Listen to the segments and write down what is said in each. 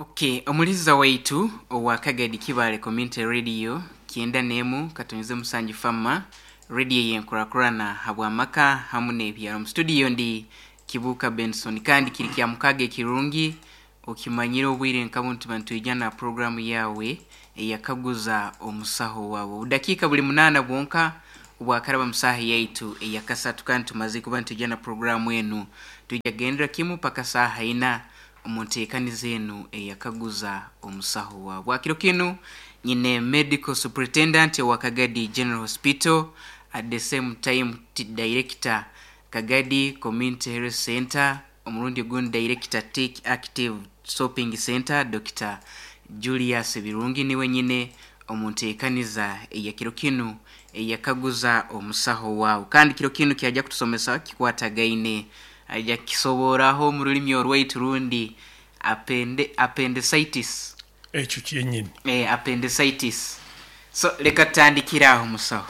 Okay, omuliza waitu owa Kagadi Kibale Community Radio 91.7 Fama radio yenkurakurana habwamaka hamu n'ebyaro. Mu studio ndi Kibuka Benson, kandi kiri kya mukaga ekirungi okimanyire obwire nkabo nti bantwijana na programu yawe eyakaguza omusaho wawe. Obudakiika buli 8 bwonka obwakaraba musaha yaitu eyakasatu, kandi tumaze kuba ntwijana programu enu tujagendera kimu paka saha ina omunteekaniza enu eyakaguza omusaho wawe. Bwakiro kinu nyine medical superintendent wa Kagadi General Hospital, at the same time director Kagadi Community Health Center, omurundi ogundi director Take Active Shopping Center, Dr. Julius Birungi niwe nyine omunteekaniza eyakiro kinu eyakaguza omusaho wawe. Kandi kiro kinu kyajja kutusomesa kikwatagaine, aja kisoboraho omu rulimi orwaitu rundi appendicitis. Ekyo kyenyini. Appendicitis. So leka tutandikire aho musaho.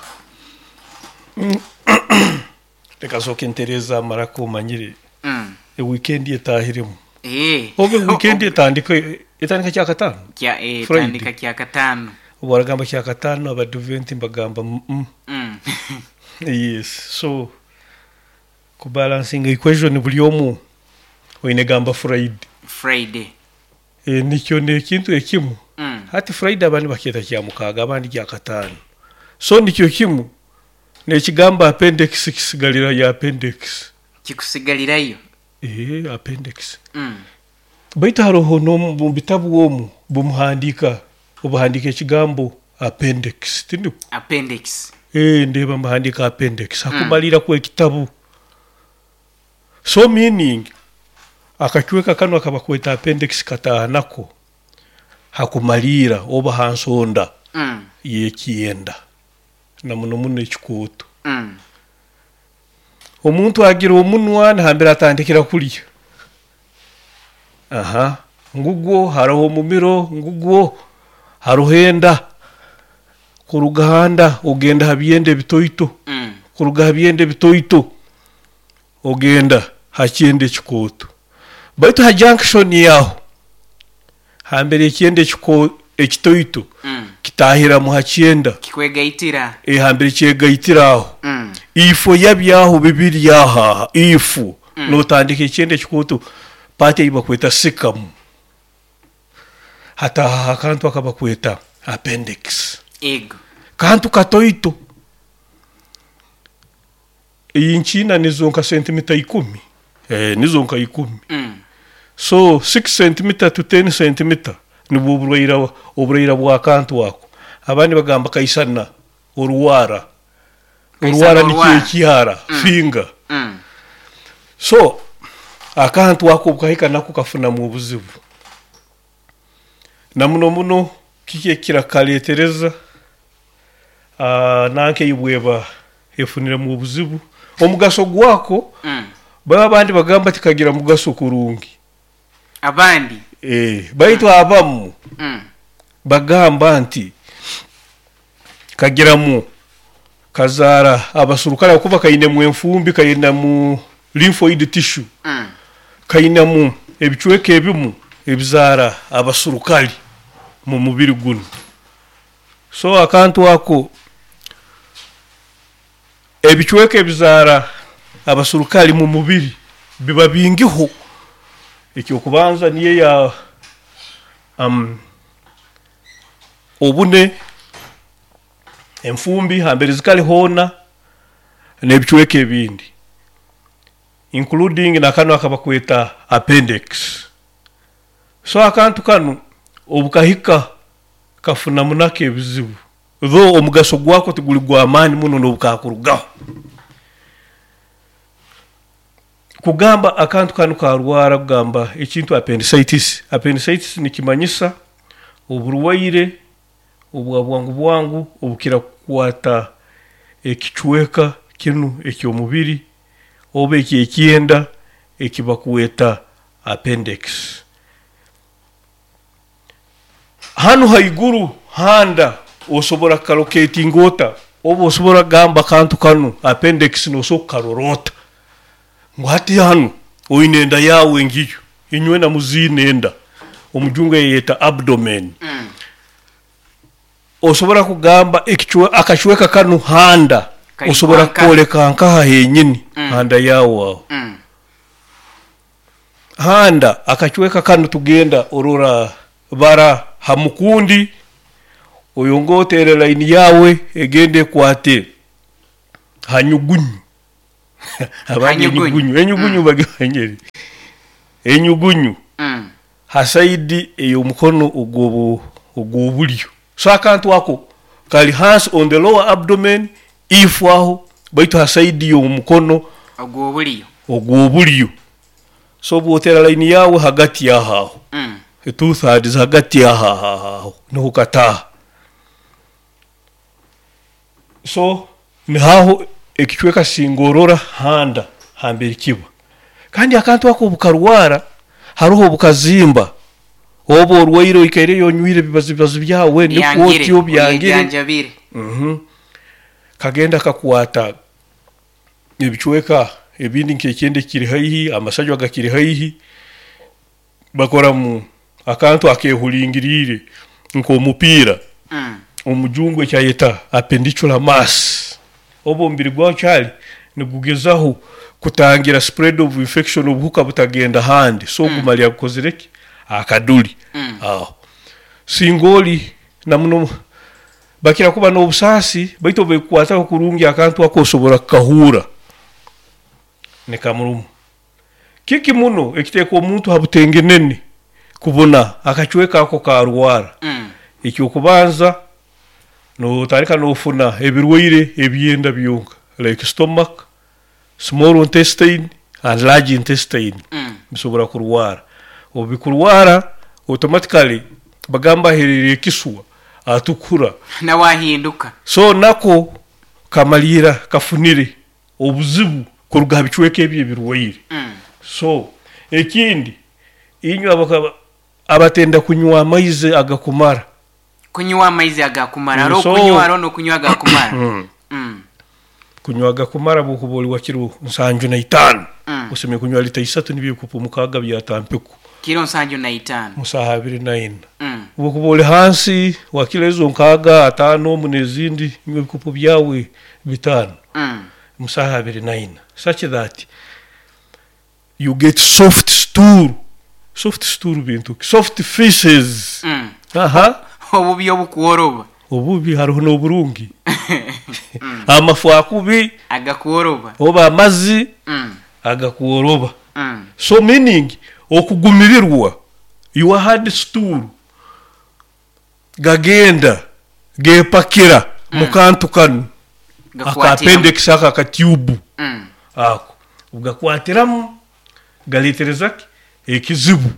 Leka nsooke ntereeze amaraka omanyire. Eweekend etahiremu. Oba weekend etandika etandika kyakataano? Kya etandika kyakataano. Obu aragamba kyakataano abadvent mbagamba mm. Yes. So kubalansinga equation buri omu oine gamba Friday. Friday. Nikyo n'ekintu ekimu. Hati Friday abandi bakyeta kyamukaaga abandi kyakataano. So nikyo kimu n'ekigambo appendix kisigalirayo appendix. Kikusigalirayo. Appendix. Baitu haroho n'omu bitabu omu bumuhandiika obuhandiika ekigambo appendix tiniko? Appendix. Ndeeba mbahandiika appendix hakumalira kw'ekitabu. So meaning akacweka kanu akabakweta appendix kataaha nako hakumaliira oba ha nsonda y'ekyenda na muno muno ekikooto. Omuntu agira omunwa nambere atandikira kulya. Aha, ngugwo haroho omumiro, ngugwo haroho enda. Kuruga ha nda ogenda ha byenda ebitoito. Kuruga ha byenda ebitoito ogenda ha kyenda ekikooto. Baitu ha junction aho hambere ekyenda ekitoito kitahiramu ha kyenda. Kikwegaitira. Hambere kyegaitira aho. Ifo yabyo aho bibiri aho aha ifo notandika ekyenda ekikooto part ei bakweta sikamu. Hatahaho akantu akabakweta appendix. Ego. Kantu katoito. Iyi nkiina nizo nka sentimita 10. Nizo nka 10. So 6 centimeter to 10 centimeter nibwo oburaira bw'akantu ako. Abandi bagamba kaisana oruwara. Oruwara nikyo ekyara, finger. So akantu ako obukahika nako kafunamu obuzibu. Na muno muno kiki ekirakareetereza nanka ei bweba efuniremu obuzibu. Omugaso gwako baba abandi bagamba tikagira mugaso kurungi. Abandi? Baitu abamu bagamba nti kagiramu kazaara abasurukale ahakuba kainemu enfumbi, kainemu lymphoid tissue, kainemu ebicweka ebimu ebizaara abasurukali mu mubiri gunu. So akantu ako ebicweka ebizaara abasurukali mu mubiri biba bingiho. Ekyokubanza niyo ya obune, enfumbi hambere zikali hoona n'ebicweka ebindi including na kanu akabakweta appendix. So akantu kanu obukahika kafunamu nako ebizibu. Though omugaso gwako tiguli gw'amaani muno n'obukakurugaho. Kugamba akantu kanu karwara kugamba ekintu appendicitis. Appendicitis nikimanyisa oburwaire obwa bwangu bwangu obukira kukwata ekicweka kinu eky'omubiri oba eky'ekyenda ekibakweta appendix. Hanu haiguru handa osobora kukalocatinga ota oba osobora kugamba akantu kanu appendix nosobola kukarora ota ngu hati hanu oine enda yawe ngiyo inywe na muziine enda. Omujungu eyeta abdomen. Osobora kugamba akacweka kanu handa, osobora kukoleka nkaha henyini handa yawe aho. Handa akacweka kanu tugenda orora bara hamukundi, oyonge otere line yawe egende ekwate hanyugunyu. Abandi enyugunyu, enyugunyu bagimanyire. Enyugunyu ha side ey'omukono ogw'obulyo. So akantu ako kali hansi on the lower abdomen, if aho, baitu ha side y'omukono ogw'obulyo. Ogw'obulyo. So obwotera line yawe hagati aho aho, 2/3 hagati aho aho aho niho kataha. So nihaho ekicweka singorora handa hambere kiba. Kandi akantu ako obukarwara, haroho obukazimba, oba orwaire oikaireyo onywire ebibazi byawe nikwo otyo byangire. Kagenda kakwata ebicweka ebindi nk'ekyenda ekiri haihi, amasajwa gakiri haihi, bakoramu akantu akehulingiriire nk'omupiira, omujungu ekyayeta appendicular mass. Oba omubiri gwawe kyali nigugezaho kutangira spread of infection, obuhuka butagenda handi, so ogumalira gukozire ki? Akaduli aho. Singa oli na muno bakira kuba n'obusaasi, baitu obu ekukwataho kurungi akantu ako osobora kukahuura nikamuruma. Kiki muno ekiteeka omuntu ha butengenene kubona akacweka ako karwara? Ekyokubanza, notandika nofuna ebirwaire ebyenda byonka like stomach, small intestine and large intestine bisobora kurwara. Obu bikurwara, automatically bagamba aherire ekiswa atukura. Nawe ahinduka. So nako kamalira kafunire obuzibu kuruga ha bicweka ebi ebirwaire. So ekindi, inywe abatenda kunywa amaizi agakumara. Kunywa amaizi agakumara, haroho kunywa haroho n'okunywa agakumara. Kunywa agakumara bwokuba oli wa kiro 75, osemeriire kunywa lita 3 nibyo ebikopo 6 bya tampiku. Kiro 75. Musaha 24. Bwokuba oli hansi wa kiro ezo 6, 5 omu n'ezindi, nywa ebikopo byawe 5 musaha 24, such that you get soft stool. Soft stool bintu ki? Soft feces. Aha. Obubi obukworoba. Obubi haroho n'oburungi. Amafu akubi agakworoba, oba amazi agakworoba. So meaning okugumirirwa your hard stool gagenda gepakira mukantu kanu aka appendix aka akatube ako gakwatiramu galetereza ki ekizibu.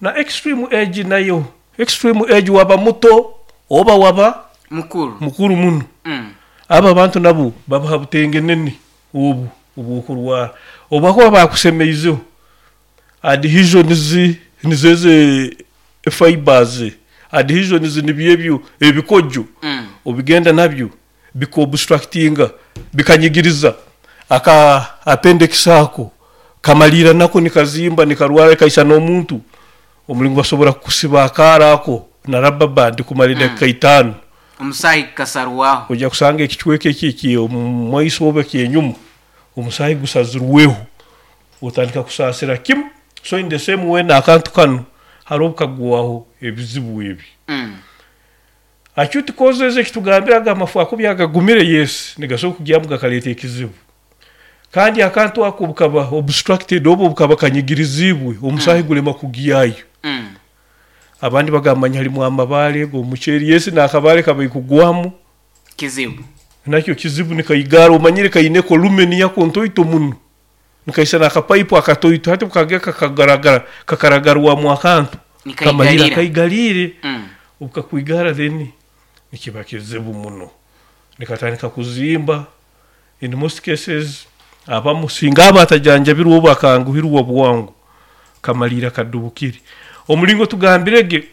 Na extreme age nayo, extreme age waba muto oba waba mukuru, mukuru muno. Abo abantu nabo babaha butengenene obu obwokurwara obakuba bakusemeizeho adhesions nizeze fibers, adhesions nibyo ebyo ebikojo obigenda nabyo bikaobstructinga bikanyigiriza aka appendix ako kamalira nako nikazimba nikarwara kaisa n'omuntu omulingo basobora kukusiba akaara ako na rubber band kumara edakika 5. Omusaayi gukasarwaho. Ojja kusanga ekicweka eki eky'omumaiso oba ekyenyuma omusaayi gusazirweho, otandika kusaasira kimu. So in the same way n'akantu kanu haroho obukagwaho ebizibu ebi. Acute causes ekitugambiraga amafu akubi agagumire, yes, nigasobora kugyamu gakaleeta ekizibu. Kandi akantu ako bukaba obstructed oba bukaba kanyigiriziibwe, omusaahi gulema kugyayo. Abandi bagamba halimu amabaale g'omuceeri, yes, n'akabaale kabaire kugwamu kizibu. Nakyo kizibu nikaigara, omanyire kaineko lumen yako ntoito muno. Nikaisana akapaipu akatoito, hati bukageka kagaragara kakaragarwamu akantu kamalira kaigalire. Obukakwigara then nikiba kizibu muno, nikatandika kuzimba. In most cases abamu singa aba atajanjabirwe oba akanguhirwa bwangu kamalira kadubukire. Omulingo tugambirege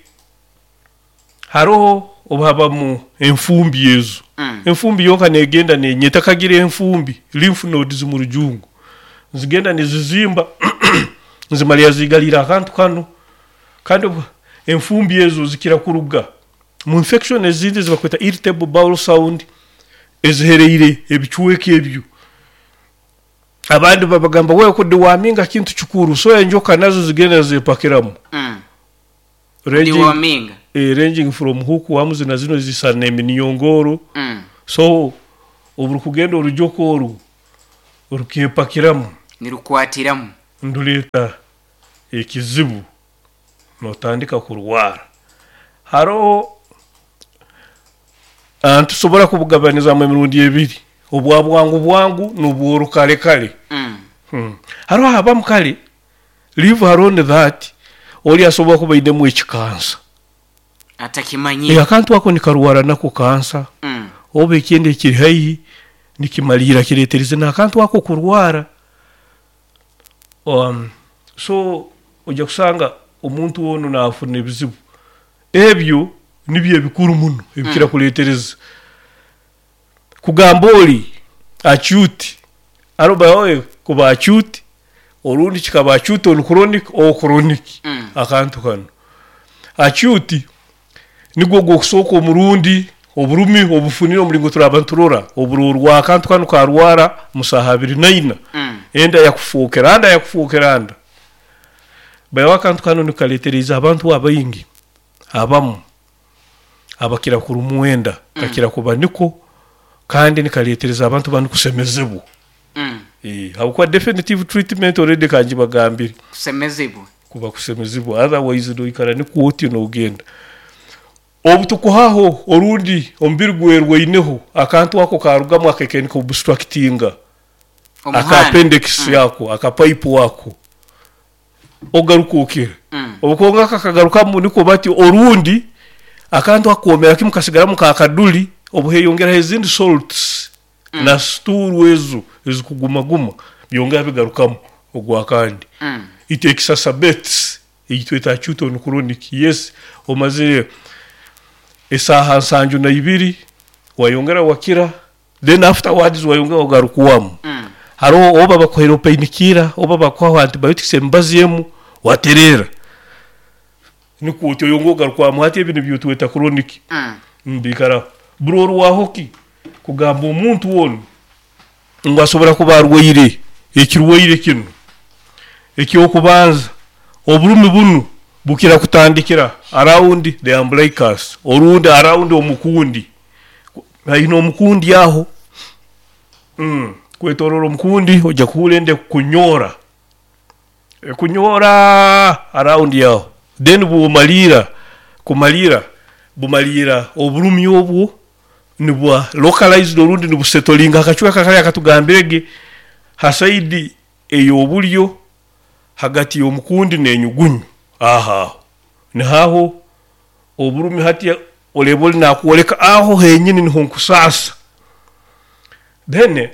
haroho obuhabamu enfumbi ezo. Enfumbi yonka negenda nenyeta kagira enfumbi lymph nodes mu rujungu zigenda nizizimba zimalira zigalira akantu kanu. Kandi enfumbi ezo zikira kuruga mu infection ezindi ezibakweta irritable bowel sound ezihereire ebicweka ebyo. Abandi babagamba wewe kudeworminga kintu kikuru, so enjoka nazo zigenda zepakiramu. Deworminga. Ranging from hookworms na zino zisana eminyongoro. So oburukugenda orujoka oru rukepakiramu, nirukwatiramu, nduleeta ekizibu, notandika kurwara. Haroho tusobora kubugabanizamu emirundi ebiri, obwa bwangu bwangu n'obworukalekale. Haroho abamu kale leave alone that oli asobola kuba ainemu ekikansa atakimanyire. Akantu ako nikarwara nako kansa, oba ekindi ekiri haihi nikimalira kireterize n'akantu ako kurwara. So ojja kusanga omuntu onu nafuna ebizibu ebyo, nibyo ebikuru muno ebikira kuletereza kugamba oli acute. Arobawe kuba acute orundi kikaba acute on chronic or chronic. Akantu kanu acute nigwo gwokusooka omurundi oburumi obufunire omulingo turaba nturora oburorwa akantu kanu karwara musaha 24. Enda yakufookera anda, yakufookera anda bayo. Akantu kanu nikaletereza abantu abaingi abamu abakira kurumwenda, kakira kuba niko, kandi nikaletereza abantu banu kusemezebwa. Habwokuba definitive treatment already kanjibagambire. Kusemezebwa. Kuba kusemezebwa, otherwise noikara nikwo oti nogenda obu tukuhaho orundi omubiri gwerwaineho akantu ako karugamu akekeni obstructinga aka appendix yako, aka pipe wako, ogaruka okira. Obukonga kakagarukamu niko bati orundi akantu akomera kimu kasigaramu kakaduli, obuheyongeraho ezindi salts na stool ezo ezikugumaguma byongera bigarukamu ogwakandi. It exacerbates eyitweta acute on chronic. Yes, omazire esaaha 72 wayongera wakira, then afterwards wayongera ogarukwamu. Haroho oba bakuhaire painkiller oba bakuhaho antibiotics, emibazi emu waterera, nikwo otyo oyongera ogarukwamu. Hati ebi nibyo tweta chronic. Mbikaraho burorwaho ki kugamba omuntu onu ngu asobora kuba arwaire ekirwaire kinu? Ekyokubanza, oburumi bunu bukira kutandikira around the umbilicus orundi around omukundi, haihi n'omukundi aho, kwetorora omukundi. Ojja kuhurra enda ekukunyora, ekunyora around aho, then bwomaliira kumaliira bumaliira oburumi obwo nibwa localized orundi nibusettlinga akacweka kali akatugambirege ha side ey'obulyo hagati y'omukundi n'enyugunyu, aho aho nihaho oburumi. Hati oreba oli nakwoleka aho henyini niho nkusaasa. Then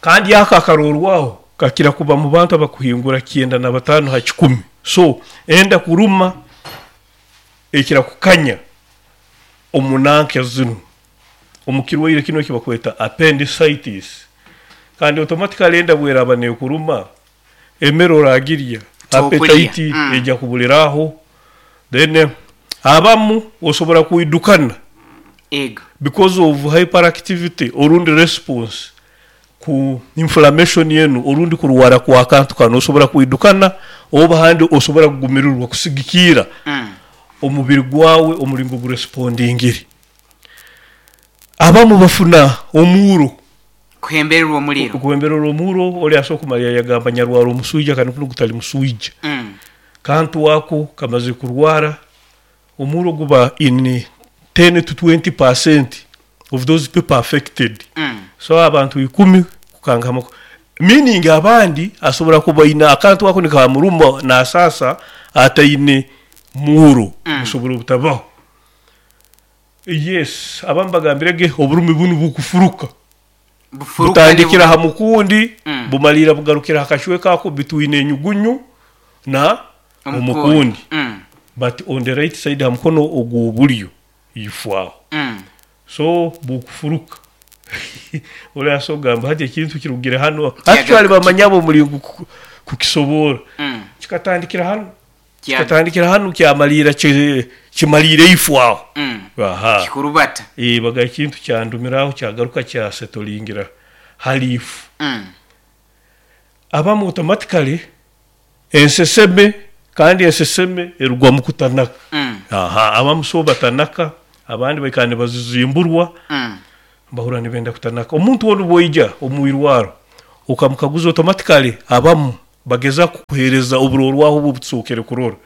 kandi ako akarorwaho kakira kuba mu bantu abakuhingura 95 ha 100. So enda kuruma ekira kukanya omunanke zinu omukirwaire kino ekibakweta appendicitis. Kandi automatically enda bweraba nekuruma, emere oragirya, appetite ejja kubuliraho. Then abamu osobola kwidukana because of hyperactivity orundi response ku inflammation yenu orundi kurwara kwa akantu kanu, osobola kwidukana oba handi osobola kugumirirwa kusigikiira omubiri gwawe omulingo gurespondingire. Abamu bafuna omuro. Kuhembererwa omuliro. Kuhembererwa omuro. Oli asobola kumalira yagamba nyarwara omuswija, kandi kuno gutali muswija. Kantu ako kamaze kurwara, omuro guba in 10 to 20% of those people affected. So abantu 10 kukangama, meaning abandi asobola kuba ina akantu ako nikamuruma nasasa ataine muro. Busobora obutabaho. Yes, abamu bagambirege oburumi bunu bukufuruka, butandikira ha mukundi, bumalira bugarukira hakashweka ako between enyugunyu na omukundi, but on the right side, ha mukono ogw'obulyo ifwaho. So bukufuruka, oli asogamba hati ekintu kirugire hano. Actually bamanyabo omulingo kukisobora, kikatandikira hano. Kikatandikira hanu kyamaliira kimaliire ifu aho. Aha. Kikurubata. Baga ekintu kyandumira aho kyagaruka kyasetolingira hali ifu. Abamu automatically enseseme, kandi enseseme erugwa mu kutanaka. Aha, abamu so batanaka, abandi baikara nibazizimburwa, bahurra nibenda kutanaka. Omuntu onu bwoija omu irwarro okamukaguza automatically abamu bageza kukuheereza oburorwaho obu obutusookere kurora.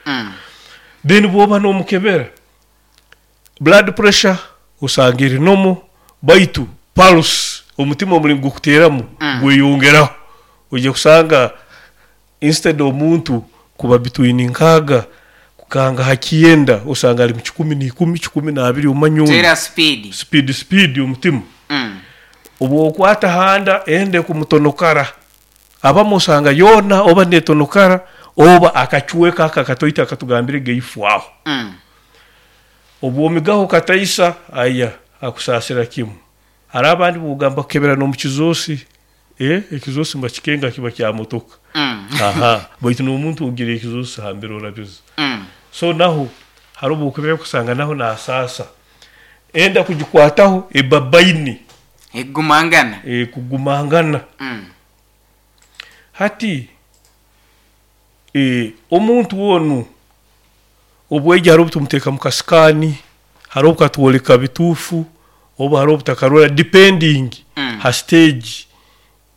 Then bwoba nomukebera, blood pressure osanga eri normal, baitu pulse, omutima omulingo gukuteeramu gweyongeraho. Oija kusanga instead omuntu kuba between nkaaga kukanga ha kyenda, osanga ali mu 110, 12, omanya onu. Teera speed. Speed speed omutima. Obu okwata handa enda ekumutonokara, abamu osanga yoona oba netonokara oba akacweka ako akatoito akatugambire gaifu aho. Obu omigaho kataisa, aya akusaasira kimu. Hariho abandi bwogamba kukebera n'omu kizoosi, ekizoosi nibakikenga kiba kya motoka. Aha, baitu n'omuntu ogira ekizoosi hambere orabiza. So naho hariho obu okebera kusanga naho nasaasa. Enda kugikwataho eba baini. Ekugumangana. Ekugumangana. Hati omuntu onu obwaija hariho obu tumuteeka mu kasikaani, hariho obu katwoleka bituufu oba hariho obu takarora depending ha stage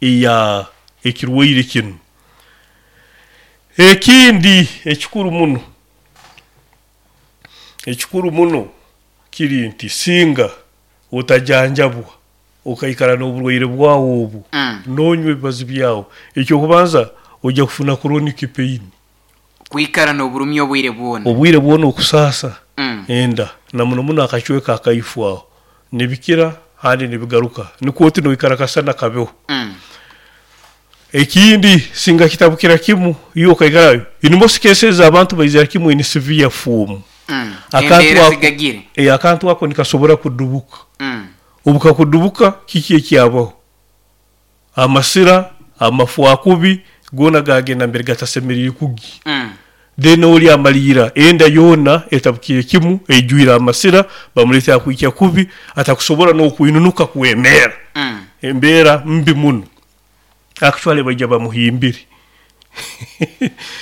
eya ekirwaire kinu. Ekindi ekikuru muno, ekikuru muno kiri nti singa otajanjabwa okaikara n'oburwaire bwawe obu, nonywa ebibazi byawe, ekyokubanza oija kufuna chronic pain. Kwikara n'oburumi obwire bwona. Obwire bwona okusaasa enda na muno muno akacweka akaifu aho nibikira handi nibigaruka nikwo oti noikara kasana kabeho. Ekindi singa kitabukira kimu iwe okaikara, in most cases abantu baizira kimu in severe form. Akantu Embeera ako, zigagire. Akantu ako nikasobora kudubuka. Obu kakudubuka kiki ekyabaho? Amasira, amafwakubi goona gagenda mbere gatasemeriire kugya. Then oli amaliira enda yoona etabukiire kimu eijwire amasira, bamuleetera kwikya kubi atakusobora n'okwinunuka kwemeera. Embeera mbi muno. Actually baija bamuhimbire.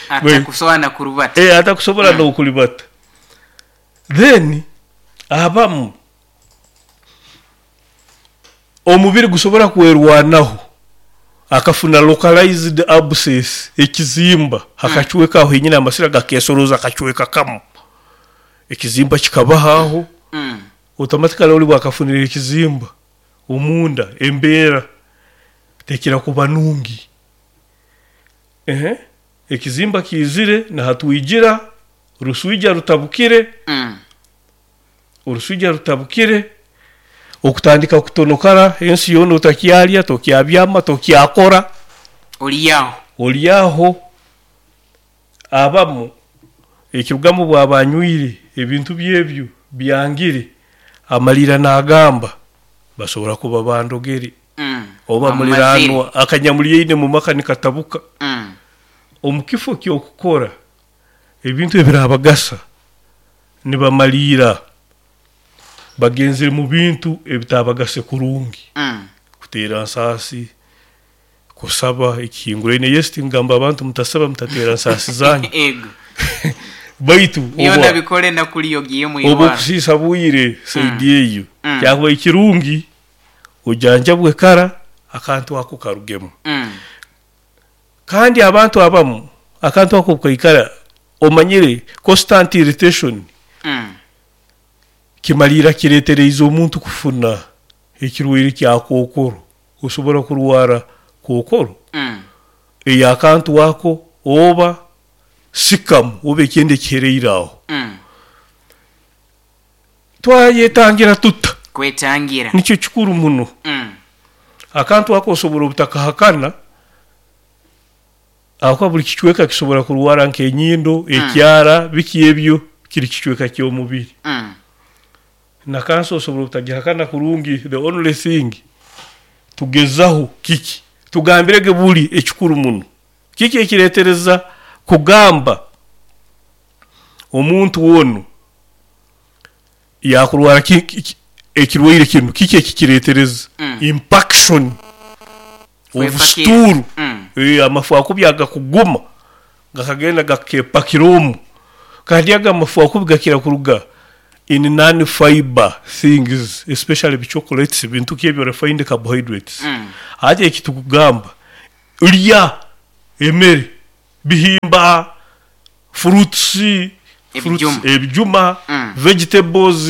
Atakusobora na kurubata. Atakusobora n'okuribata. Then abamu omubiri gusobora kwerwanaho akafuna localized abscess, ekizimba hakacweka aho henyini amasira gakesoroza akacweka kamu. Ekizimba kikabaho aho, automatically oli bwakafunire ekizimba omunda embeera tekira kuba nungi. Ekizimba kiizire nahatwigira, oruswija rutabukire, oruswija rutabukire, okutandika kutonokara ensi yoona otakyarya, tokyabyama, tokyakora. Ori aho. Ori aho. Abamu ekirugamu bwaba anywire ebintu byebyo byangire, amaliira nagamba basobora kuba bandogere. Oba muliranwa akanyamulyaine mu maka nikatabuka. Omu kifo ky'okukora ebintu ebirabagasa nibamaliira bagenzere mu bintu ebitabagase kurungi. Kuteera nsaasi, kusaba ekihinguraine. Yes, tingamba abantu mutasaba mutateera nsaasi zanyu. Baitu Byona bikole nakuli ogiye mu oba irwaro. okusiisa bwire saidi eyo, kyakuba ekirungi ojanjabwe kara akantu ako karugemu. Kandi abantu abamu akantu ako kaikara omanyire constant irritation kimaliira kireetereize omuntu kufuna ekirwaire kya kookoro. Osobora kurwara kookoro ey'akantu ako oba sikamu oba ekindi ekihereire aho. Twayetangira tuta? Kwetangira. Nikyo kikuru muno. Akantu ako osobora obutakahakana, ahakuba buli kicweka kisobora kurwara nk'enyindo, ekyara, biki ebyo kiri kicweka ky'omubiri. Na kansa osobora obutagihakana kurungi, the only thing tugezaho kiki? Tugambirege buli ekikuru muno. Kiki ekireetereza kugamba? Omuntu onu yakurwara ekirwaire kinu, kiki ekikiretereza? Impaction of stool, amafu akubi agakuguma gakagenda gakepakira omu. Kandi ago amafu akubi gakira kuruga in non fiber things especially bi chocolates bintu ki ebyo refined carbohydrates. Hati ekitukugamba lya emere, bihimba, fruits, Ebijuma. Ebijuma, vegetables,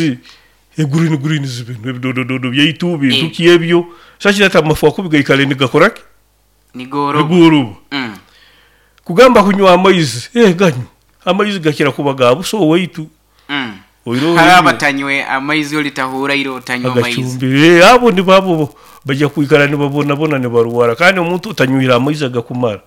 e green greens binu ebidodododo byaitu bintu ki ebyo such that amafu akubi gaikare nigakora ki? Nigooroba. Nigooroba. Kugamba kunywa amaizi, eh ganywe. Amaizi gakira kuba ga busa owaitu. Oihireho Hariho abatanywe amaizi olitahuura ira otanywa amaizi. Agacumbire. Eh, abo nibo abo baija kwikara nibabonabona nibarwara. Kandi omuntu otanywire amaizi agakumara,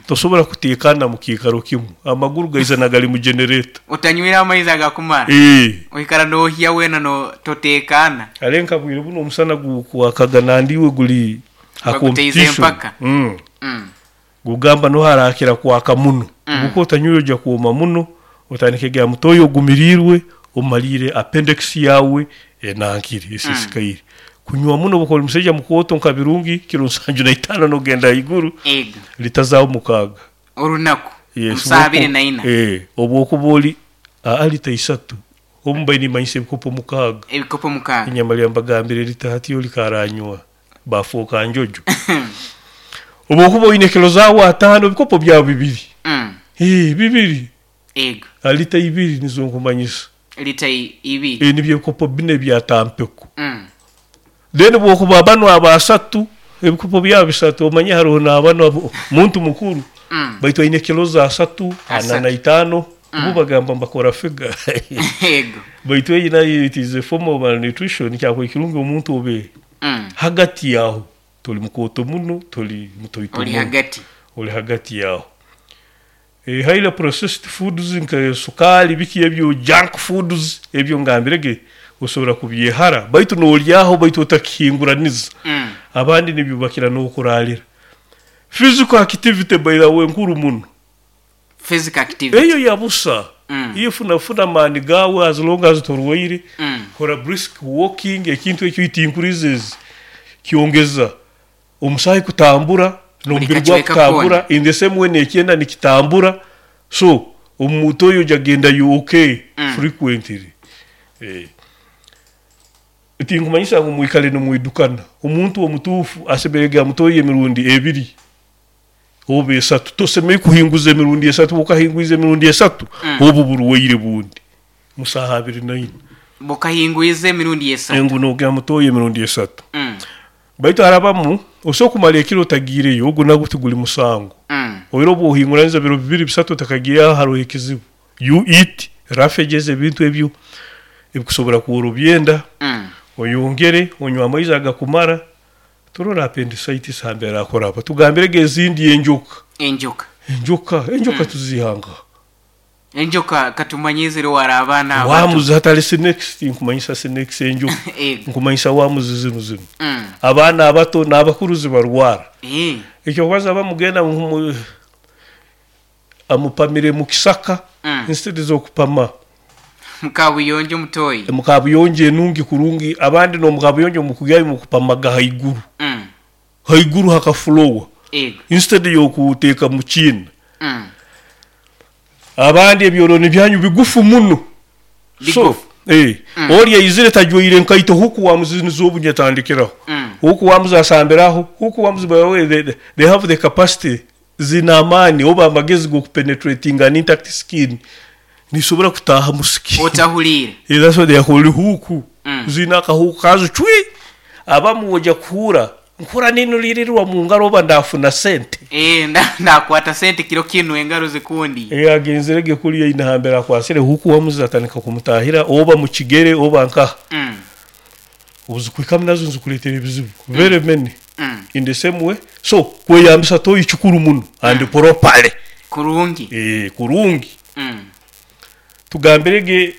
tosobora kuteekana mu kiikaro kimu. Amaguru gaizana gali mu generator. Otanywire amaizi agakumara, Eh. oikara nohya weena no toteekaana. Kare nka bwire bunu omusana gukwakaga nandi iwe guli ha Baguteize competition. empaka. Gugamba noha arakira kwaka muno. Obu otanywire oija kwoma muno, otandike gira mutoyi ogumiriirwe, omaliire appendix yaawe enankire, esisikaire. Kunywa muno obu okuba oli musaija mukooto nka Birungi, kiro nsanju na itaano nogenda haiguru, Ego. lita zaawe mukaaga. Orunaku, Yes, omu saaha abiri na ina. Obu okuba oli, aa lita isatu, obu mbaire nimanyisa ebikopo mukaaga. Ebikopo mukaaga. Enyama mbagambire lita hati oli karanywa. Baafooka njojo. Obu okuba oine kilo zaawe ataano, ebikopo byawe bibiri. Ee, bibiri. Ego. Lita ibiri nizo nkumanyisa. Lita ibiri. Ee, nibyo ebikopo bina ebya tampeko. Then obu okuba banu abasatu, ebikopo byabo bisatu, omanye haroho n'abanu muntu mukuru, baitu aine kilo ze asatu, ana na itaano, bo bagamba mbakora figa. Ego. Baitu eyi nayo it is a form of malnutrition, kyakubaire kirungi omuntu obe hagati yaho, tori mukooto muno, tori mutoito Ori muno. hagati. Ori hagati yaho. Highly processed foods nka sukaali biki ebyo junk foods ebyo ngambire ge osobora kubyehara baitu nolyaho baitu otakihinguraniza. Abandi nibyo bakira n'okuraalira. Physical activity by the way nkuru muno. Physical activity. Eyo ya busa. Iwe funa funa amaani gaawe as long as torwaire, kora brisk walking ekintu ekyo it increases, kyongeza omusaahi kutambura Buli n'omubiri kacweka gwakutambura koona. in the same way n'ekyenda nikitambura so omuntu oyo oja gendayo okay frequently. Tinkumanyisa ngu mwikale nimwidukana. Omuntu omutuufu asemeriire kugira mutoyi emirundi ebiri oba esatu. Tosemeriire kuhinguza emirundi esatu, obu okahingwize emirundi esatu, obu burwaire bundi mu saaha abiri na ina. Bukahingwize emirundi esatu. Ngu nogira mutoyi emirundi esatu. Baitu harabamu osobola kumara ekiro otagiireyo, ogu nagwo tiguli musango. Oiro obu ohinguraniza biro bibiri bisatu otakagiireyo haroho ekizibu. You eat roughages ebintu ebyo ebikusobora kworobya enda, oyongere onywe amaizi agakumara, Turole appendicitis hambere erakuraba. Tugambirege ezindi enjoka. Enjoka. Enjoka, enjoka tuziiha nkaha? Enjoka katumanye ziri wara abaana abato. Worms hatali snakes, tinkumanyisa snakes enjoka. Ego. Nkumanyisa worms zinu zinu. Abaana abato n'abakuru zibarwara. Ekyokubanza bamugenda amupamire mu kisaka instead z'okupama. Mu kabuyonjo mutoyi. Mu kabuyonjo enungi kurungi, abandi n'omu kabuyonjo mukugyayo mukupamaga haiguru. Haiguru hakafulowa Ego. instead y'okuteeka mu kiina. Abandi ebyolooni byanyu bigufu muno. So, Bigufu. ori aizire tajwaire nkaito huku wamuzi nizo obu nyetandikiraho. Huku wamuzi asambiraho, huku wamuzi by the way they have the capacity zina amaani oba amagezi g'okupenetratinga an intact skin. Nisobora kutaaha mu skin. Otahuliire. That's why they are called huku. Zina akahuku kazo cwi. Abamu oja kuhura nkura ninulirirwa mu ngaro oba ndafuna sente. Ndakwata sente kiro kinu engaro zikundi. Agenzerege kuriya ina hambere akwasire huku wamuzi atandika kumutahira oba mu kigere oba nkaha. Obuzikwikamu nazo nizikuleetera ebizibu. Very many. In the same way. So kweyambisa toyi kikuru muno and properly. Kurungi. Kurungi. Tugambirege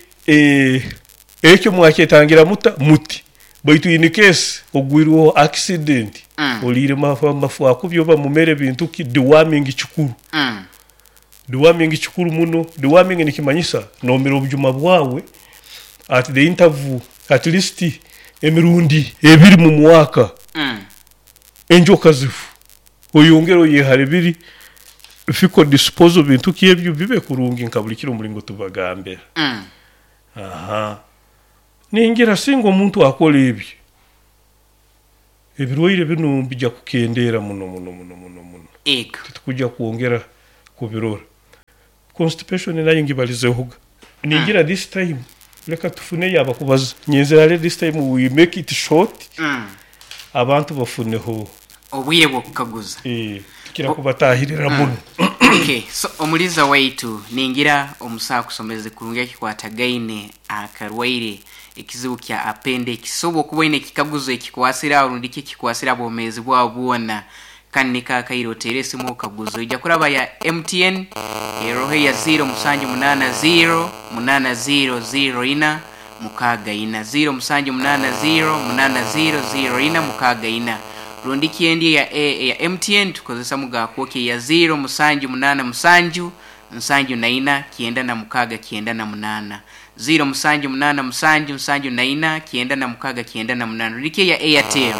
ekyo mwakyetangira muta muti. Baitu in case ogwirweho accident, oliire mafu akubi oba mumere bintu ki, deworming kikuru. Deworming kikuru muno. Deworming nikimanyisa noomira obujuma bwawe at the interval at least emirundi ebiri mu mwaka. Enjoka zifu oyongere oyehare biri fecal disposal bintu ki ebyo bibe kurungi nka buli kiro omulingo tubagambira. Aha. Ningira singa omuntu akora ebyo, ebirwaire binu nibija kukendeera muno muno muno muno muno. Ego. Titukujja kwongera kubirora. Constipation nayo ngibalizehoga. Ningira this time leka tufuneyo abakubaza. Nyenzere hare this time we make it short. Abantu bafuneho obwire bw'okukaguza. Tukira kubatahirira muno. Okay, so omuliza waitu ningira omusawo akusomeze kurungi ekikwatagaine akarwaire ekizibu kya appendix. So obwokuba oine ekikaguzo ekikwasire aho rundi ki ekikwasire abwomeezi bwawe bwona, kandi niko akaire oteere esimu okaguze. Oija kuraba ya MTN eroho eya 0 musanju munaana 0 munaana 0 0 ina mukaaga ina, 0 musanju munaana 0 munaana 0 0 ina mukaaga ina. Rundi ki endi eya, eya MTN tukozesa mugakwokya eya 0 musanju munaana musanju nsanju na ina kyenda na mukaaga kyenda na munaana, 0 musanju munaana musanju nsanju na ina kyenda na mukaaga kyenda na munaana. Rundi ki eya Airtel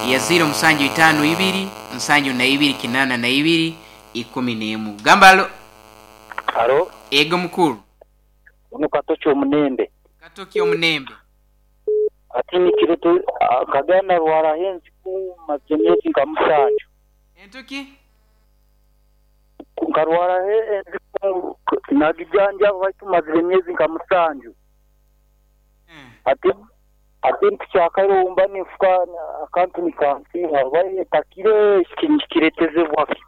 eya 0 musanju itaano ibiri nsanju na ibiri kinaana na ibiri ikumi n'emu. Gamba alo. Alo. Ego mukuru. Ono Katoki Omunembe. Katoki Omunembe. Ati nikirete nkagenda narwaraho enziku maze emyezi nka musanju. Entuki? Nkarwaraho enziku nagijanjaba baitu mazire emyezi nka musanju. Ati ati ntukyakaire obumba ninfuka akantu nikansiiha oba etakire nikiretezebwa ki?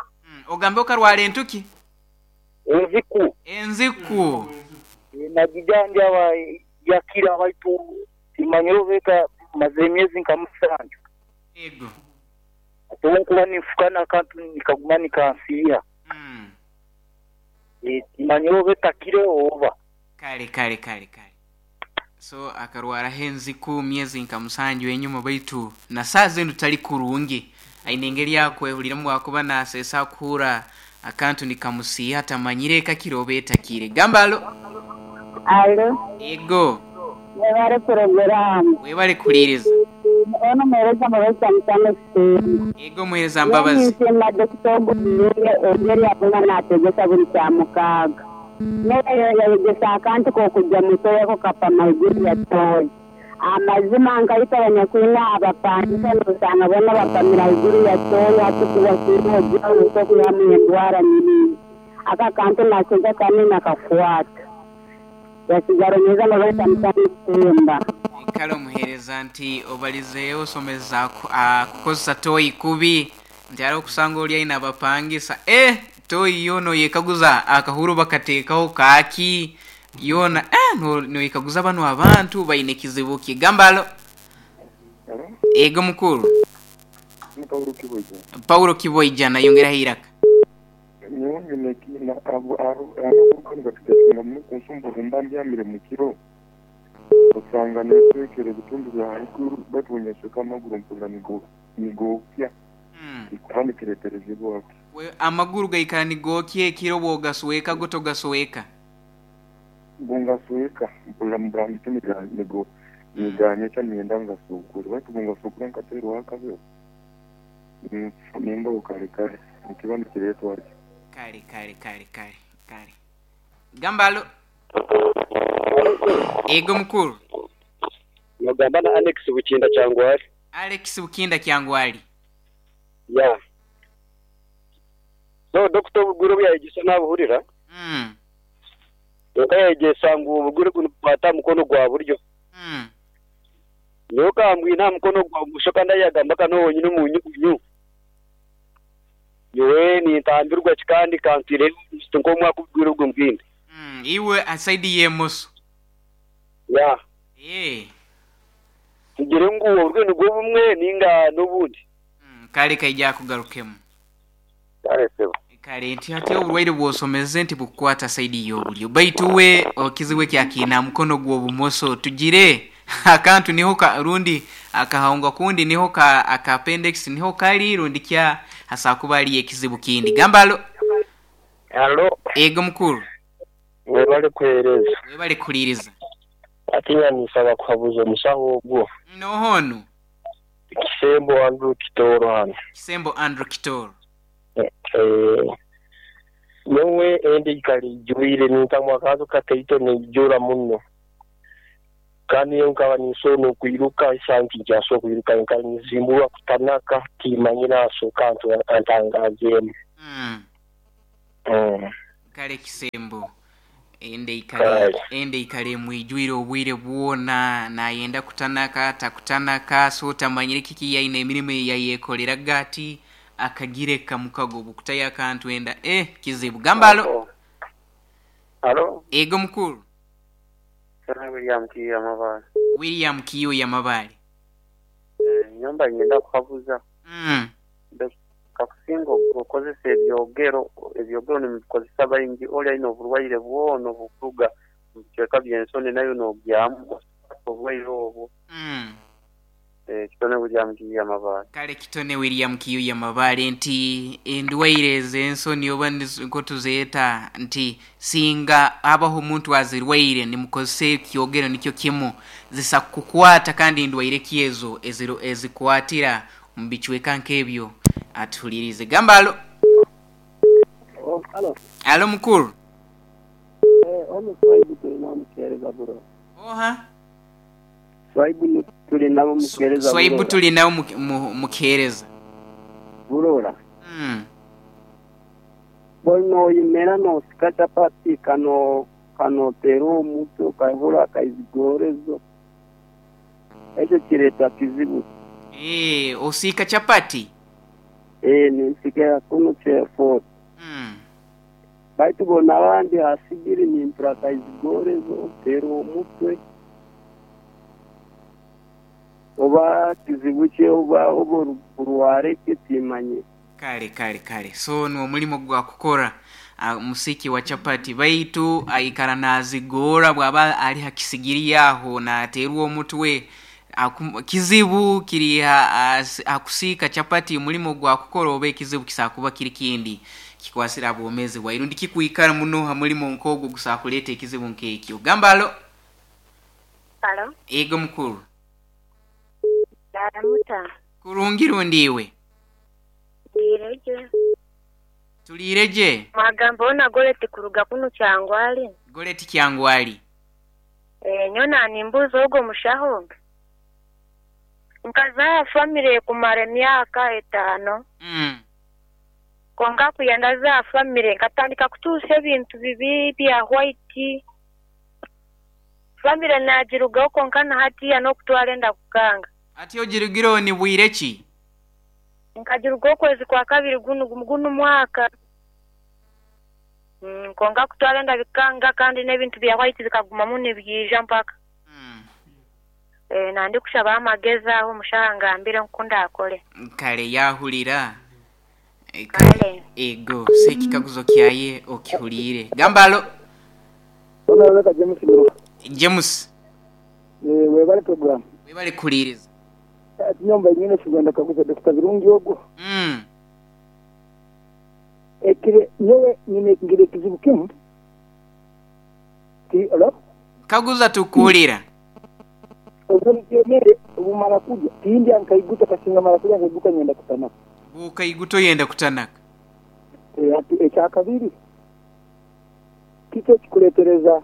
Ogambe okarwara entuki? Enziku. Enziku. Nagijanjaba yakira baitu timanyire oba eka mazire emyezi nka musanju. Ego. Ati obunkuba ninfuka n'akantu nikaguma nikansiiha. Timanyire oba etakire oba. Kale kale kale kale. So akarwaraho enziku myezi nka musanju enyuma baitu na saaha zinu tali kurungi. Aine engeri akwehuriramu bwakuba naseesa akuhurra akantu nikamusiiha tamanyire ekakire oba etakire. Gamba alo. Alo. Ego. Webale puroguraamu. Webale kuhuliiriza. Ono muheereza Mbabazi Samusoni Ekisiimba. Ego muheereza Mbabazi. Nyowe ninsiima Dokita ogu Oburungi engeri akuma natwegesa buri Kyamukaaga. Nyowe yayegesa akantu k'okugya mu toyi ako kapama haiguru ya toyi. Amazima nkaitwe abanyakwine abapangisa nosanga boona bapamire haiguru ya toyi hati kuba kiine ogira nosobora kwihamu endwara nyingi. Ako akantu nakiija kandi nakakwata. Yasigara omuheereza Mbabazi Samusoni Ekisiimba. Kale omuheereza nti obalizeeho osomeza kukozesa toyi kubi nti hariho okusanga ori aine abapangisa eh toyi yoona oyekaguza akahuru bakateekaho kaaki yoona eh noyekaguza banu abantu baine kizibu ki. Gamba alo. Ego mukuru. Ni Paulo Kiboija. Paulo Kiboija nayongeraho eiraka. Nyowe nyine ekiina ahabw'okuba nibakiteekinga muno kunsumbuha mba mbyamire mu kiro osanga neetwekera ebitundu bya haiguru baitu bwenyesweka amaguru mpurira nigookya kandi kireeterezibwa ki? Amaguru gaikara nigookya ekiro bw'ogasweka go togasweka? Bungasweka mpurira mburangiti niganyekya niinyenda ngasukure baitu bungasukura nkateerwaho akabeho nimbaho kare kare nikiba nikireetwa ki? Kare kare kare kare kare. Gamba alo. Ego mukuru. Nogamba na Alex Bukinda Kyangwali. Alex Bukinda Kyangwali. Ya. So Dokita obugwire obu yayegyesa nabuhurira. Kwonka yayegyesa ngu obugwire obu nibukwata aha mukono gwa buryo. Nyowe kambwine aha mukono gwa bumosho kandi ahi yagamba ka niho honyine omunyugunyu. Nyowe nintambirwa ki kandi kantwireyo nk'omwaka obugwire obwo mbwine. Iwe aha saidi y'emoso. Ya. Eeh. Tugire ngu oburyo nibwo bumwe ninga n'obundi. Kale kaija akugarukemu. Kale sebo. Kale nti hati oburwaire bwosomeze nti bukukwata saidi y'obulyo baitu we ekizibu eki akiine aha mukono gw'obumoso tugire akantu niho ka rundi akahangwa kundi niho ka aka appendix niho kari rundi kya hasobola kuba hariyo ekizibu kindi. Gamba alo. Halo, Ego mukuru. Webale kuhereza. Webale kuhuliriza. Ati nisaba kuhabuza omusaho ogwo. Nohono. Kisembo Andrew Kitoro hano. Kisembo Andrew Kitoro. Nyowe endi ikali ijwire nintamwa akazo kataito nijura muno. Kandi yo nkaba ninsobola okwiruka esanti nkyasobola okwiruka nkaba nizimburwa kutanaka timanyira asoka antangazeemu. Kale Kisembo ende ikale ende ikale mwijwire obwire bwona nayenda kutanaka takutanaka so tamanyire kiki yaina emirimu yayekolera gati akagireka mukago bukutaya akantu enda kizibu gambalo. Halo. Ego mukuru. William Kiyo Mabale. William Kiyo ya Mabale. Nyomba ngenda kuhabuza. Kakusinga okozesa ebyogero nimubikozesa baingi oli aine oburwaire bwona obukuruga mu bicweka by'ensoni nayo n'ogyamu oburwaire obwo. Kitone William Kiyo ya Mabale. Kale Kitone William Kiyo ya Mabale nti endwaire ez'ensoni oba nko tuzeeta nti singa abaho omuntu azirwaire nimukozesa ekyogero nikyo kimu zisa kukwata kandi endwaire kyezo ezikwatira mu bicweka nk'ebyo atuhulirize. Gambalo. Halo. Halo mukuru. Ono Swaibu tulina mukereza bro. Oha. Swaibu tulina mukereza. Swaibu tulina mukereza. Burora. Bono yimera no sikata pati kano tero muto kahura kaizigorezo. Ekyo kireta kizibu. Osika chapati. Nisikera kuno chefo. Baitu bona abandi hasigiri nimpura kaizigorezo tero omutwe. Oba kizibu kye oba oburware kitimanye. Kale so ni omulimo gwa kukora musiki wa chapati baitu aikara nazigora bwaba ali hakisigiri yaho na aterwa omutwe kizibu kiri akusika chapati mulimo gwa kukora oba ekizibu kisakuba kiri kindi kikwasira abomezi bwairundi kikuikara muno ha mulimo nkogo gusakuleta ekizibu nkekyo. Gambalo. Halo. Ego mukuru. Daramuta. Kurungirundi iwe. Ndireje. Tulireje. Magambo ona Goleti kuruga kuno kyangwali. Goleti kyangwali. Nyona nimbuzo ogo mushaho. Nkazaa family kumara emyaka 5. Konka kuyenda za family nkatandika kutuusa ebintu bibi bya white. Family nagirugaho konka na hatiya n'okutwara enda kukanga. Ati ogirugiro ni bwire ki? Nkagirugaho okwezi kwa kabiri guno mwaka. Konka kutwara enda bikanga kandi n'ebintu bya white bikagumamu nibyija mpaka. Nandi kushaba amagezi aho omushaha ngambire nkunda akole. Kale yahulira. Kale. Ego sekikaguzo kyaye okihulire. Gambalo. Ona James Miruka. James. Webale program. Webale kuliriza. Nyomba nyine kigenda kaguza Dr. Birungi ogwo. Ekire nyowe nyine ngire kizibu kimu. Ti alo? Kaguza tukuulira. Obulyemere obumara kujya tindi ankaiguta kasinga mara kujya nkaiguta nyenda kutanaka. Bukaiguto yenda kutanaka. Ati ekyakabiri. Kito kikuletereza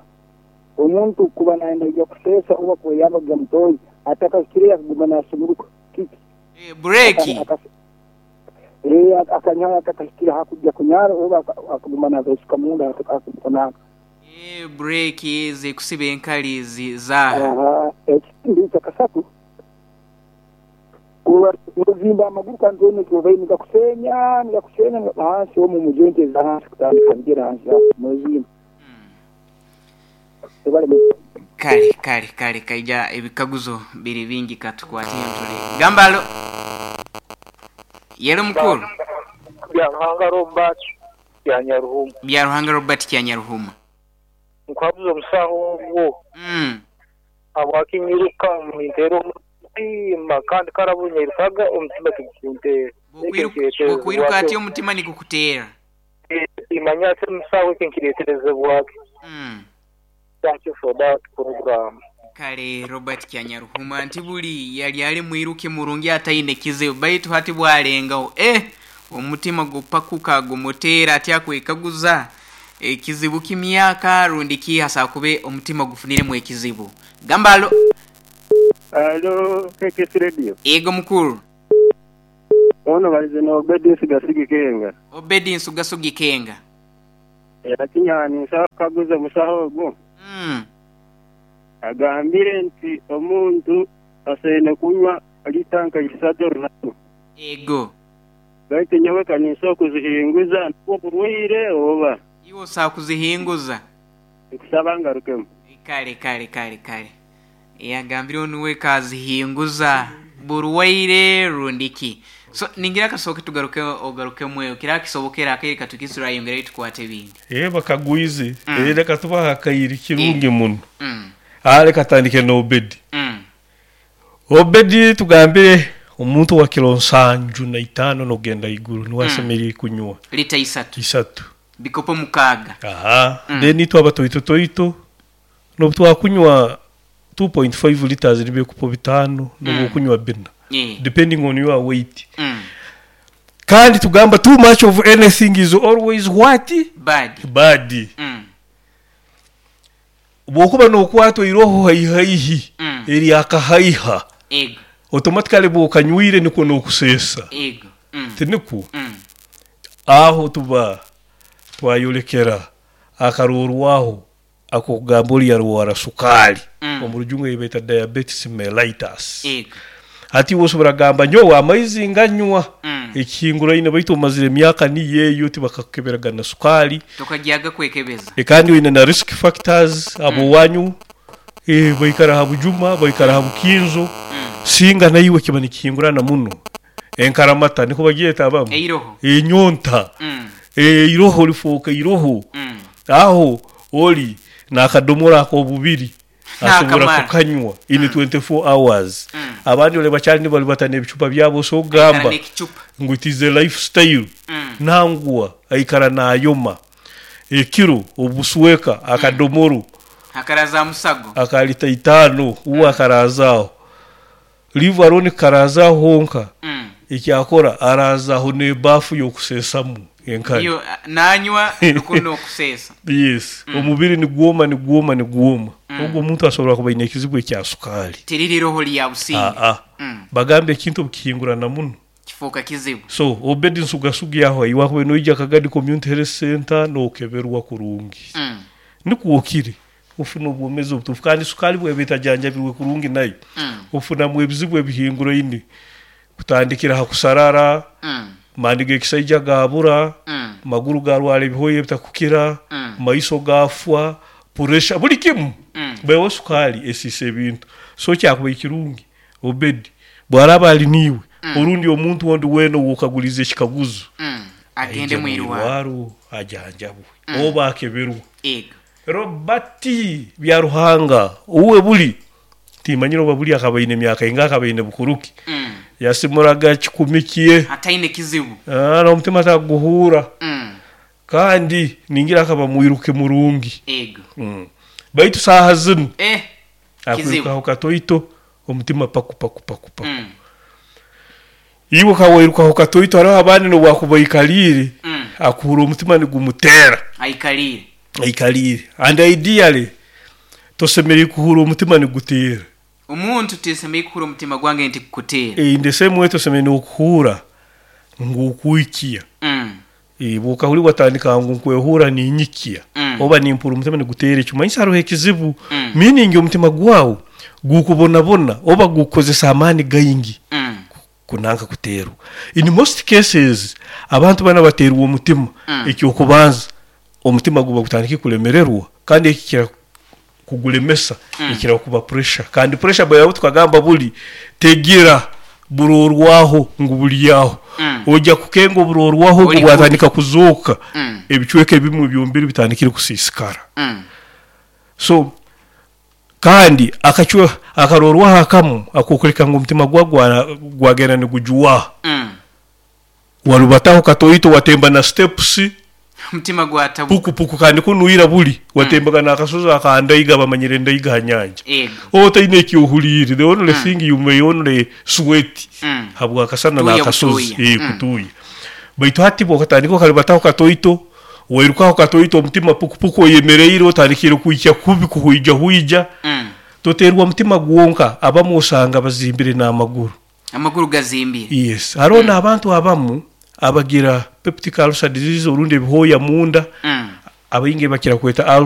omuntu kuba naenda ija kusesa oba kweyamba gya mutoyi atakakireya kuguma nasumuruka kiki. Breki. Akanyara akakira hakujya kunyara oba akuguma navesuka munda akakutanaka. Breki zikusiba enkali zaha. Ekindi kyakasatu kuba nozimba amaguru kandi one kyobayi nikakusenya hansi omu mujonte za hansi kutandika ngira hansi nozimba. Kale kaija ebikaguzo biri bingi katukwatiye ntule. Gambalo. Yelo mukuru. Bya Robert ya Nyaruhuma. Bya Ruhanga Robert kya Nyaruhuma. Nkwabuzo omusaho ogwo. Abwakinyiruka mintero omutima kandi karabunyairukaga omutima tigukuntera. Bukwiruka ati omutima nigukuteera. Timanya ate musawo eki nikireeterezebwa ki. Thank you for that program. Kale Robert Kyanyaruhuma nti buli yali ali mwiruki murungi ataine kizibu baitu hati bwalengaho eh omutima gupakuka gumuteera ati akwekaguza ekizibu kimyaka rundi ki asobola kube omutima gufuniremu ekizibu. Gamba alo. Alo KKS Radio. Yego mukuru. Ono balize na Obedi Nsugasigi Kenga. Obedi Nsugasugi Kenga. Era kinyanisa kukaguza omusaho ogwo. Agambire nti omuntu asaine kunywa lita nka isatu orunaku. Ego. Baitu nyowe ka ninsobola kuzihinguza nubwo burwaire oba? Iwe osobola kuzihinguza? Nkusaba ngarukemu. Kale, kale, kale, kale. Yagambire onu we kazihinguza burwaire rundi ki. So ningira kasooke tugaruke ogarukemu eyo kiraba kisobokera akaire katukise turayongerayo tukwate ebindi. Eeh bakagwize. Eeh leka tubahe akaire kirungi muno. Aa leka tutandike na Obedi. Obedi tugambire omuntu owa kilo nsanju na itaano n'okugenda haiguru nuwe asemeriire kunywa Lita isatu. Isatu. Bikopo mukaaga. Ahaa. Then itwe abatoito toito N'obu twakunywa 2.5 litres nibyo ebikopo bitaano n'obu okunywa bina depending on your weight. Kandi tugamba too much of anything is always what? Bad. Bad. Bw'okuba n'okwatwa eiroho haihi haihi eryakahaiha, automatically bw'okanywire nikwo n'okuseesa. Tinikwo? Aho tuba twayolekera akaroorwaho ak'okugamba ori yarwara sukaali, omu rujungu ei beeta diabetes mellitus. Hati iwe osobora kugamba nyowe amaizi nganywa ekihinguraine baitu omazire emyaka niyo eyo tibakakukeberaga na sukaali. Tokagyaga kwekebeza. Kandi oine na risk factors, ab'owanyu baikara ha bujuma, baikara ha bukinzo, singa naiwe kiba nikihingurana muno. Enkaramata nikwo bagyeta abamu? Eiroho. Enyonta. Eiroho lifooka eiroho. Aho oli n'akadomora ak'obubiri asobora Nakamara. kukanywa in 24 hours. Abandi ole bakyali nibarubata n'ebicupa byabo osobola Aikara kugamba n'ekicupa. ngu it is a lifestyle. Nangwa aikara nayoma. Ekiro obusweka akadomoro Akaraza musago. aka lita itaano uwe akaraazaaho. Leave alone kukaraaza aho honka, eki akora araaza aho n'ebaafu y'okuseesamu enkari. Iyo nanywa nikwo n'okuseesa. Yes, omubiri nigwoma, nigwoma, nigwoma. Ogwo omuntu asobora kuba aine ekizibu ekya sukaali. Tiriri iroho lya businge. Aa. Bagamba ekintu obu kihingurana muno. Kifooka kizibu. So, Obedi Nsugasugi aho iwe akubaire noija Kagadi Community Health Centre n'okeberwa kurungi. Nikwo okire. Ofuna obwomeezi obutuufu kandi sukaali bw'eba etajanjabirwe kurungi nayo ofunamu ebizibu ebihinguraine kutandikira ha kusarara, maani g'ekisaija gaabura, maguru gaarwara ebihooya ebitakukira, maiso gaafwa, puresha, buli kimu. Baiho sukaali esiisa ebintu. So kyakubaire kirungi Obedi bw'araaba ali niiwe orundi omuntu ondi weena ou okaguliize ekikaguzo, Agende aije mu irwaro. mwirwaro ajanjabwe oba akeberwe. Robert Byaruhanga uwe buli timanyire oba buli akaba aine myaka ingaha akaba aine bukuru ki yasimuraga kikumi kye. Ataine kizibu. N'omutima takuguhuura kandi ningira akaba mwiruki murungi. Baitu saaha zinu akwirukaho katoito omutima paku paku paku paku. Iwe ka wairukaho katoito haroho abandi n'obu akuba aikaliire akuhurra omutima nigumuteera. Aikaliire. Aikaliire. And ideally tosemeriire kuhurra omutima niguteera. Omuntu tinsemeriire kuhurra omutima gwange nti gukuteera. In the same way tosemeriire n'okuhurra ngu okwikya. Obu okahurra watandika ngu nkwehurra ninyikya oba nimpurra omutima niguteera ekimanyisa haroho ekizibu. Meaning omutima gwawe gukubonabona oba gukukozesa amaani gaingi kunanka kuteerwa. In most cases abantu banu abateerwa omutima eky'okubanza omutima guba gutandikire kulemererwa kandi ekikira kugulemesa ekira kuba pressure kandi pressure bweba tukagamba buli tegira burorwaho ngu buli aho. Oija kukenga oburorwaho ogu bwatandika kuzooka ebicweka ebimwe eby'omubiri bitandikire kusiisikara. So Kandi akacwe akarorwaho akamu ak'okuleka ngu omutima gwa gwagenda nigujwaha. Warubataho katoito watemba na steps. Omutima gwatabuka. Puku puku kandi kunu ira buli watembaga n'akasozi aka Ndaiga, bamanyire Ndaiga ha nyanja. Otaine eki ohuliire, the only thing you may only sweat habw'akasana Kutuuya n'akasozi, butuuya. Kutuuya. Baitu hati bw'okatandika okalibataho katoito, wairukaho katoito omutima puku puku oyemereire otandikire kwikya kubi kuhwijahuija. Toteerwa mutima gwonka, abamu osanga bazimbire n'amaguru. Amaguru gazimbire. Yes. Haroho n'abantu abamu abagira peptic ulcer disease orundi ebihooya munda, abaingi bakira kweta.